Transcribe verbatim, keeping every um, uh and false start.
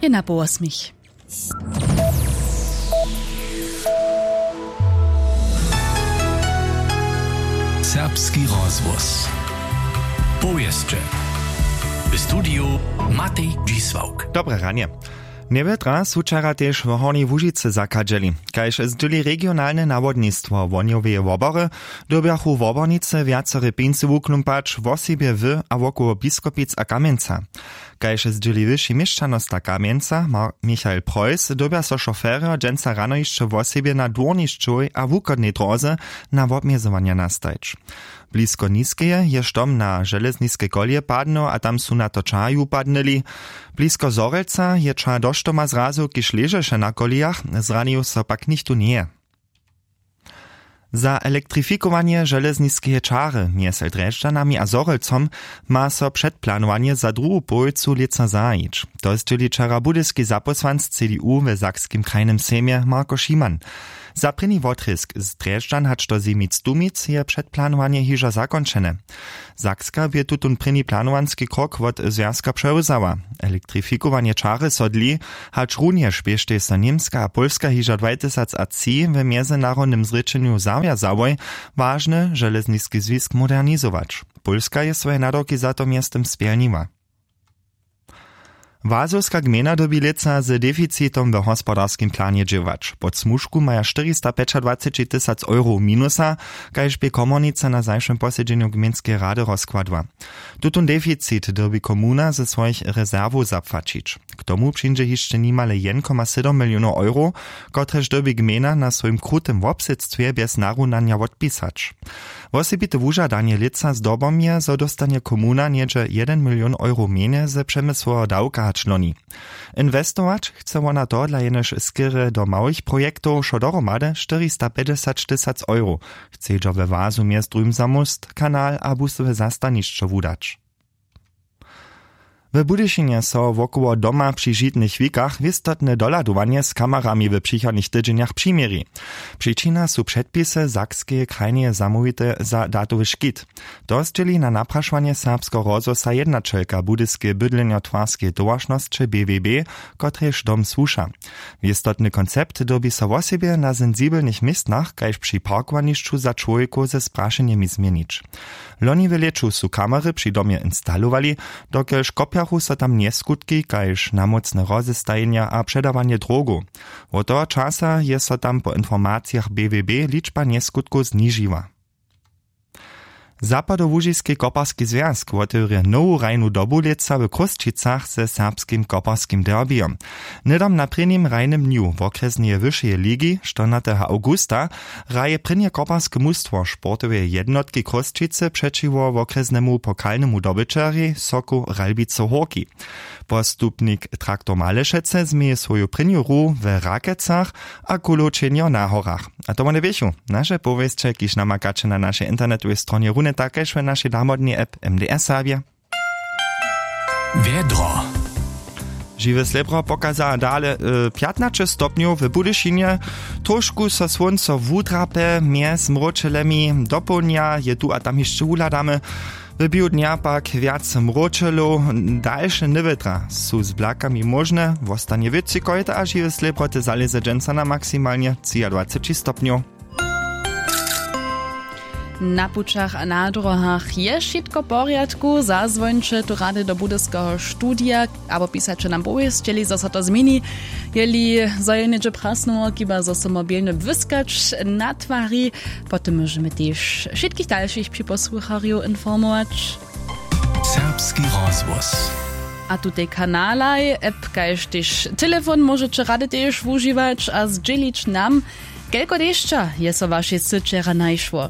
Na połosmich. Serbski rozhłos. Powěsće. W studiju Matej Dźisławk. Dobre ranje. Njewjetra su wčera tež w Hornjej Łužicy zachadźeli. Kaž zdźěli regionalne nawodnistwo Wohnjoweje wobory, dyrbjachu wobornicy wjacore pjeńcy wuklumpać, wosebje w a wokoło Biskopic a Kamjenca. Kaž zdźěli wyši měšćanosta Kamjenca Mar- Michael Preuss, dyrbja so šoferjo dźensa rano hišće wosebje na dwórnišćowej a wuchodnej dróze na wobmjezowanja nastajć. Blisko Niskeje je štom na železniskej koleje padnył a tam su na to čahi wupadnyli. Blisko Zhorjelca je čah do štoma zrazył, kiž ležeše na kolejach, zranił so pak nichtó njeje. Za elektrifikowanje železniskeje čary mjez Drježdźanami a Zhorjelcom ma so předplanowanje za druhu połojcu lětsa zahajić. To zdźěli wčera budyski zapósłanc C D U we Sakskim krajnym sejmje Marko Šiman. Za prěni wotrězk z Drježdźan hač do Zemic-Dumic je předplanowanje hižo zakónčene. Sakska bě tutón prěni planowanski krok wot zwjazka přewzała. Elektrifikowanje čary so dli, hačrunjež běštej so Němska a Pólska hižo dwatysacatři w mjezynarodnym zrěčenju zawjazałoj, wažny železniski zwisk modernizować. Pólska je swoje nadawki za to mjeztym spjelniła. Wazowska gmejna dyrbi lětsa z deficitom w hospodarskim planje dźěłać. Pod smužku maja štyristapjećadwaceći tysac eurow minusa, kaž bě komornica na zašłym posedźenju gmejnskeje rady rozkładła. Tutón deficit dyrbi komuna ze swojich rezerwow zapłaćić. K tomu přińdźe hišće nimale jedn koma sydom milionow eurow, kotrež dyrbi gmejna na swojim krutym wobsydstwje bjez narunanja wotpisać. Wosebite wužadanje lětsa zdobom je, zo dóstanje komuna něhdźe jedyn milion eurow mjenje ze přemysłoweho dawka hač loni. Inwestować chce wona tohodla jenož skerje do małych projektow wšo dohromady štyristapjećdźesat tysac eurow. Chcedźo we wazu mjez druhim za móst, kanal a busowe zastanišćo wudać. W Budyšinje so wokoło doma při žitnych wikach wěstotne dohladowanje z kamerami w přichodnych tydźenjach přiměri. Přičina su předpisy Sakskeje krajneje zamołwite za datowy škit. To zdźěli na naprašowanje Serbskeho rozhłosa jednaćelka Budyskeje bydlenjotwarskeje towaršnosće B W B, kotrejž dom słuša. Wěstotny koncept dyrbi so wosebje na sensibelnych městnach kaž při parkowanišću za čłowjekow ze sprašenjemi změnić. Loni w lěću su kamery při domje instalowali, dokelž kopjachu so tam njeskutki kaž namócne rozestajenja a předawanje drogow. Wot toho časa je so tam po informacijach B W B ličba njeskutkow znižiła. Zapadołužiski koparski zwjazk wotewrje nowu hrajnu dobu lětsa w Chrósćicach ze serbskim koparskim derbijom. Hnydom na prěnim hrajnym dnju wokrjesneje wyšeje ligi, štyrnateho awgusta, hraje prěnje koparske mustwo sportoweje jednotki Chrósćicy přećiwo wokrjesnemu pokalnemu dobyćerjej Soku Ralbicy Hórki. Postupnik Traktor Malešecy změje swoju prěnju hru w Rakecach a Kulow čehnjo na Horach. A to wone běchu naše powěsće, kiž namakaće na našej internetowej stronje runje tak kaž w našej namodnej app M D R Serbje. Wjedro. Žiwe slěbro pokaza dale, e, pjatnaće stopnjow w Budyšinje. Trošku so słónco wudrape mjez mróčelemi, dopołdnja je tu a tam hišće wuhladamy. W běhu dnja pak wjac mróčelow, dalše nywětra su z blakami móžne, wostanje wětřikojte a žiwe slěbroty zalěze dźensa na maksimalnje třiadwaceći stopnjow. Na pućach a na dróhach je wšitko w porjadku. Zazwońće tu rady do budyskeho studija abo pisaće nam powěsćeli, zo so to změni. Jeli zo je něhdźe prasnyło, chiba zo so mobilnje błyskać na twari. Potom móžemy tež wšitkich dalšich připosłucharjow informować. Serbski rozhłos. A tutej kanalaj app kaž tež telefon móžeće rady tež wužiwać a zdźělić nam, kelko dešća je so w wašej sy wčera našło.